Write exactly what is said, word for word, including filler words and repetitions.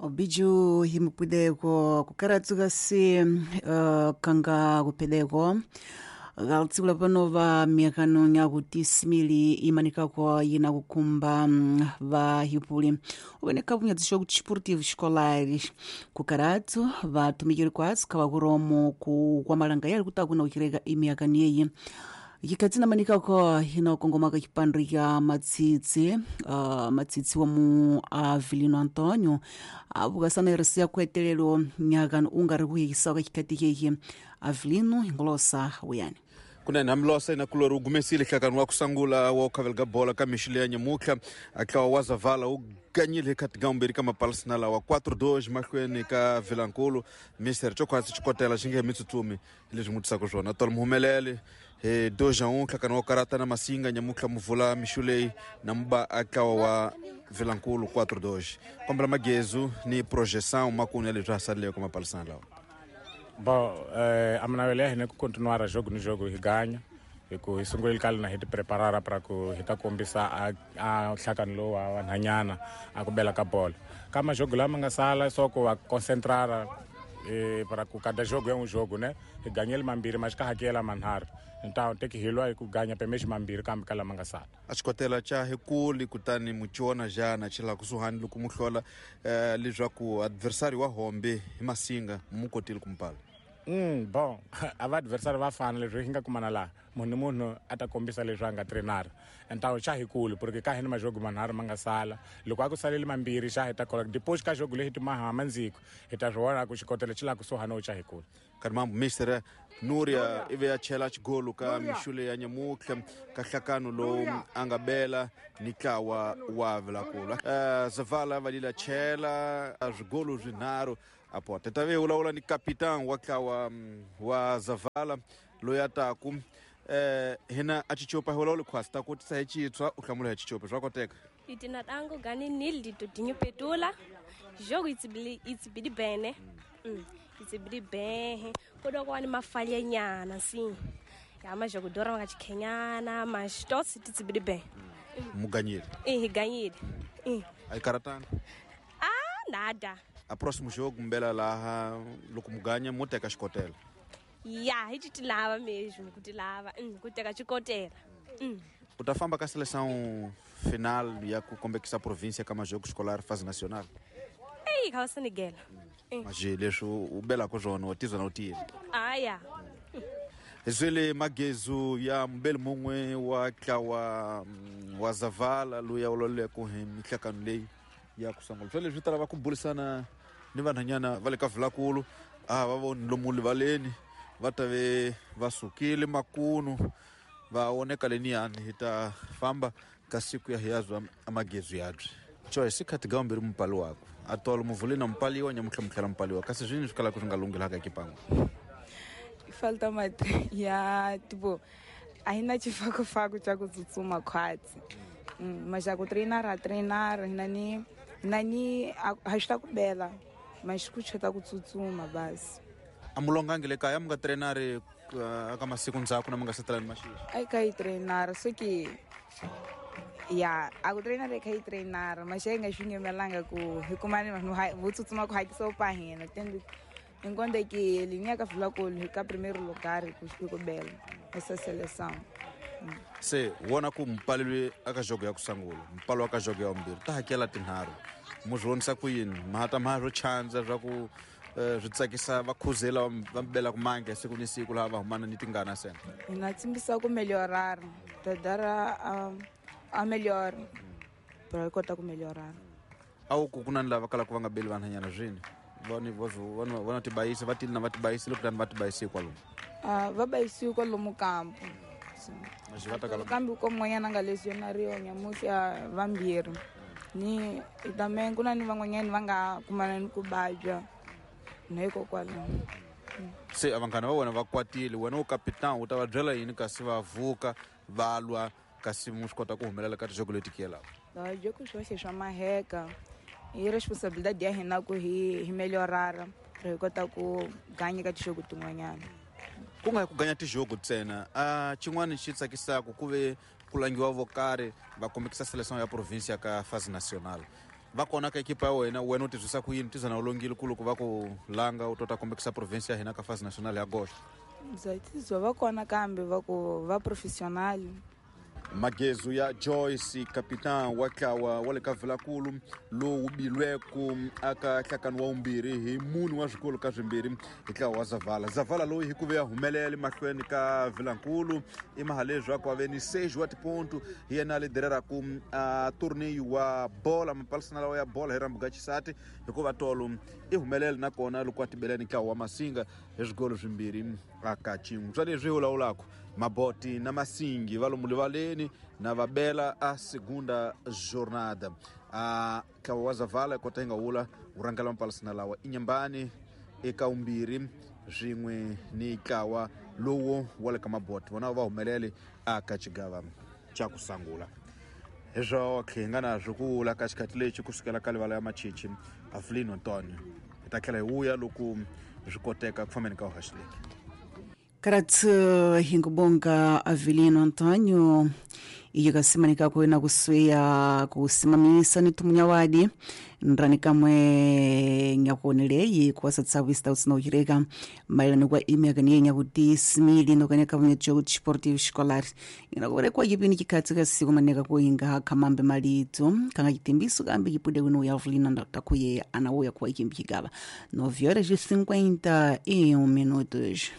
Obiju himupideko kukaratsuka se uh, kanga kupedeko galtsula pano va miakano nyakuti simili imanikako yina kukumba va hipuli uveneka vunyadziso kuti esportivo escolares kukaratsu vatumikiri kwatsu kavakuromo ku kwamalanga yali kutakuna kuchireka imiakano yeyi yikatsina manikako hina kongomaka chipandri cha matsitsi uh, matsitsi wa mu Avelino Antonio avukasana irisiya kuetelelo nyakano ungari kuhikisaka chikhati chechi Avelino hingolosa wuyani kunene hambilosa ina kulori wu gumesile nhlakano wa kusangula wa ukhaveleka bola ka mixile ya nyamutlha atlawa wa zavala wu ganyile hi khati gambiri ka mapalosina lawa quatro dois mahlweni ka vilankulu mister chokhwatsi xikotela xi nge he mitsutsumi hi leswi n'wi tisaka swona tolo muhumelele hi dois a um nhlakano wa karata na masinga nyamutlha muvula mixu leyi na muba atlawa wa vilankulu quatro dois kombela magezu ni projeção makunu ya leswi ha saleleke mapalosina lawa. Bom, eh, a minavelo ya hina ku continuar jogo ni jogo hi ganya hi ku hi sungulile kale na hi ti preparara para ku hi ta kombisa a, a nhlakano lowu wa vanhanyana a ku bela ka bolo ka majogo lama nga sala só ku va concentrara eh, para ku cada jogo é um jogo, né? Hi ganyele mambirhi mas ka hakela manharhu então tem que hi lwa hi ku ganya pemexi mambirhi kambe ka lama nga sala. A xikotela xa hikuli kutani muchiona jana xi laha kusuhani loko mu hlola eh, leswaku adversary wa hombe hi masinga mu kotile ku mpala. Mm, bom, a va adversary va fana leswi hi nga kumana laha munhu ni munhu a ta kombisa leswi a nga trenara então xa hikulu porque ka hina majogo manharhu ma nga sala loko a ku salele mambirhi xa hi ta kola depois ka jogo leyi timaha mandziko hi ta swi vona ku xikotela xi laha kusuhani wo xa hikulu. Kanti mambo mister Nuria ivi ya chela xigolo ka mixule ya nyamutlha ka nhlakano lowu a nga bela ni ntlawa wa Vilankulu. Uh, Zavala va lila chela swigolo swinharhu a pota ta ve vulavula ni kapitan wa ntlawa wa Zavala loyi a taku eh hina a chichopa hi vulavula khwasi ta kotisa hi chitshwa u hlamula hi chichopa swa koteka. Itina tango gani nil ditodinho petula jogo itsibili itsibili bene mm. itsibili bene kodwa kwani mafalha nyana sim ya majogo dora nga chikhenyana mas tosi titsibili bene muganyile eh ganyile eh ai karatanga ah nada. A próximo jogo mbela laha loko muganya mo teka xikotela. Ya hi titilava mesmo kutilava mm, ku teka xikotela mm. U ta famba ka seleção final ya ku kombekisa província ka majogo escolar fase nacional. Ei ka Senegal. Mm. Mas leswi u belaka swona wa tizwa na u tiyile. Ah ya. Zwele magezu ya mbele mun'we wa ntlawa wa Zavala loyi a ololeko hi mihlakano leyi ya ku sungula swa leswi ta lava ku burisana ni vanhanyana va le ka Vilankulu a va voni lomu rivaleni va ta ve va sukile makunu va oneka leniyani hi ta famba ka siku ya hiyazwa amagezu yabye choice khathi gambiri mupali wako atolo muvule na mupaliwa nyamutlha mutlhela mupaliwa kasi zwini swi kalaka swi nga lunghilaka kipan'we. Falta uma ya tipo a hina xifakofako xa ku tsutsuma khwatsi mm, mas xa ku treinar a treinar hina ni hina ni ha swi ta ku bela mas ku chota ku tsutsuma basi. A mu longangi le kaya mu nga treinari aka masiku ndzhaku na mu nga se tala ni maxixi? A ka yi treinar so ke ya a ku treinar ka yi treinar mas hi nga swi ngemelanga ku hi kumani vanhu vo tsutsuma ku hakisa pa hina tende enquanto que linha ka Vilankulu hi ka primeiro lugar ku ku bela essa seleção. Se wona ku mpalelwe aka jogo ya ku sangula mpalo wa ka jogo ya vumbirhi ta hakela tinharhu mu swi vonisa ku yini mahata ma swo chandza swa ku swi tsakisa va khuzela va bela ku mange siku ni siku laha va humana ni tingana sena. Hi nga tsimbisa ku melhorar tadara a a melhor para kota ku melhorar. A wu ku ku na ni lava kalaka va nga beli vanhanyana swini vani vona vona tibayisa va tili na va tibayisile kutani va tibayisi kwalomu. Ah va bayisiwe kwalomu kampo kambe ko mun'wanyana a nga lesionariwa nyamuhla vambirhi ni também ku na ni van'wanyani va nga kumana ni ku vabya na hikokwalaho. Se a vanghana va wena va kwatile wena u kapitan u ta va byela yini kasi va vuka va lwa kasi mu swi kota ku humelela ka tijogo leti kiyelaka? Jogo swoxe swa maheka i responsabilidade ya hina ku hi hi melhorara hi kota ku ganya ka tijogo tin'wanyana. Ku nga ku ganya tijogo ntsena a xin'wana xi tsakisaka ku ve ku langiwa vo karhi va kombekisa seleção ya província ka fase nacional. Va kona ka ekipa ya wena, wena u tizwisa ku yini? Tizana u longile ku loko va ku langa u tota kombekisa province ya hina ka fase national ya goxa. Bya tizwa va kona kambe va ku va professional. Magezu ya Joyce, capitan wa ntlawa wa le ka Vilankulu lowu bilweku aka nhlakano wa vumbirhi hi mune wa swikolo ka swimbirhi hi ntlawa wa Zavala. Zavala loyi hi ku ve ya humelela mahlweni ka Vilankulu i maha leswaku a ve ni seis wa tiponto, hi yena a lidereraku a torneio wa bola mapalisana lawa ya bola hi rambuga xisati, hikuva tolo i humelele nakona loko a tibele ni ntlawa wa Masinga hi swigolo swimbirhi aka xin'we. Swa leswi hi vulavulaka Maboti na Masingi va lomu rivaleni na va bela a segunda jornada. A ntlawa wa Zavala kota yi nga wula wu rhangela mapalisana lawa Inyambani eka vumbirhi swin'we ni ntlawa lowu wa le ka Maboti, vona va humelele aka xigava xa ku sungula. Hi swotlhe hi nga na swo ku vula ka xikhathi lexi kusukela ka livala ya Machichi Avelino Antonio. Hi ta tlhela hi vuya loko swi koteka ku fambeni ka uhaxileki. Karatsu hingubonga Avelino Antonio iyo kasimanika kwena kusweya kusimamisa ni tumunyawadi nrani kamwe nyakuoneleyi kuwasatsawu usina uchireka maelano kwa imyaka niye nyakuti simili nokaneka vunye jogo desportivo escolar inakurekwa chipini chikhatsi kasiku maneka kuinga khamambe malito kanga chitimbiso kambe chipude kuno ya Avelino ndatakuye anauya kuwa ichimbi chigava nove horas e cinquenta e um minutos.